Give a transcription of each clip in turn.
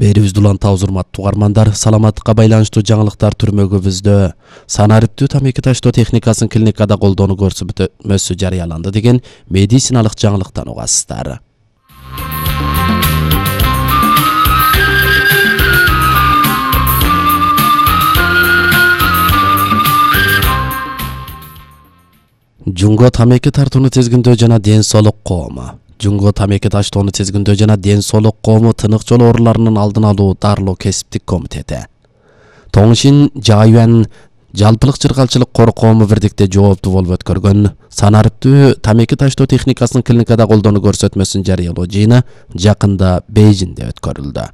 Берибизди улантабыз, урматтуу угармандар. Саламаттыкка байланыштуу жаңылыктар түрмөгүбүздө санариптүү тамеки таштоо техникасын клиникада колдонуу көрсөтмөсү жарыяланды деген медициналык жаңылыктан угасыздар. Жунго тамеки тартууну тизгиндөө жана ден соолук коому. Жунго тамеки таштоону тизгиндөө жана ден соолук коому тынык жол ооруларынын алдын алуу дарылоо кесиптик комитети. Тоңшин Жайуан жалпылык чыргалчылык кор коому бирдикте жооптуу болуп өткөргөн санариптүү тамеки таштоо техникасын клиникада колдонуу көрсөтмөсүн жарыялоо жыйыны жакында Бейжиңде өткөрүлдү.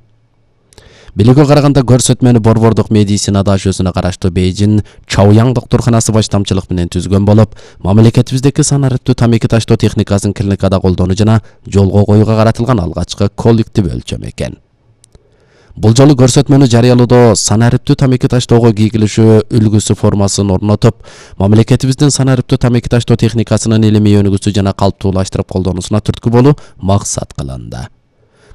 Билүүгө караганда көрсөтмөнү борбордук медицина дашөсүнө караштуу Бейжиң Чаояң доктурканасы баштамчылык менен түзгөн болуп, мамлекетибиздеки санариптүү тамеки таштоо техникасын клиникада колдонуу жана жолго коюуга каратылган алгачкы коллектив өлчөм экен. Бул жолу көрсөтмөнү жарыялоодо санариптүү тамеки таштоого кийгилишүү үлгүсү формасын орнотуп, мамлекетибиздин санариптүү тамеки таштоо техникасынын илимий өнүгүүсү жана калыптуулаштырып колдонуусуна түрткү болуу максат кылынды.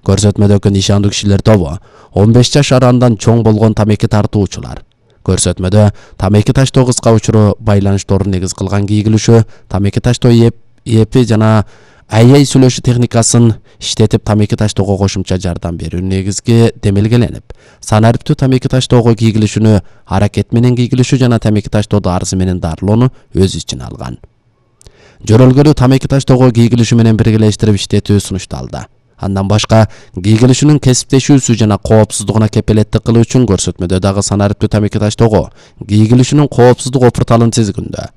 Көрсөтмөдөгү нишандуу кишилер тобу 15 жаш арандан чоң болгон тамеки тартуучулар. Көрсөтмөдө тамеки таштоо кыска учуру байланышторун негиз кылган кийгилишүү, тамеки таштоо эпи жана АЙ сүйлөшүү техникасын иштетип тамеки таштоого кошумча жардам берүү негизги демелгеленип, санариптүү тамеки таштоого кийгилишүүнү аракет менен кийгилишүү жана тамеки таштоодо арзы менен дарылоону өз ичине алган. Жөрөлгөлүү тамеки таштоого кийгилишүү менен биргелештирип иштетүү сунушталды. Андан башка кийгилишүүнүн кесиптешүүсү жана коопсуздугуна кепилеттик кылуу үчүн көрсөтмөдө дагы санариптүү тамеки таштоого кийгилишүүнүн коопсуздук опурталын тизгиндөө,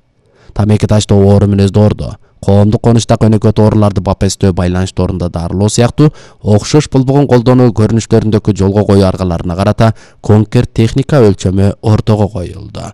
тамеки таштоо оору мүнөздөрдү, коомдук конуштак өнөкөт ооруларды бапестөө байланышторунда дарылоо сыяктуу окшош болбогон колдонуу көрүнүштөрүндөгү жолго коюу аргаларына карата конкрет техника өлчөмү ортого коюлду.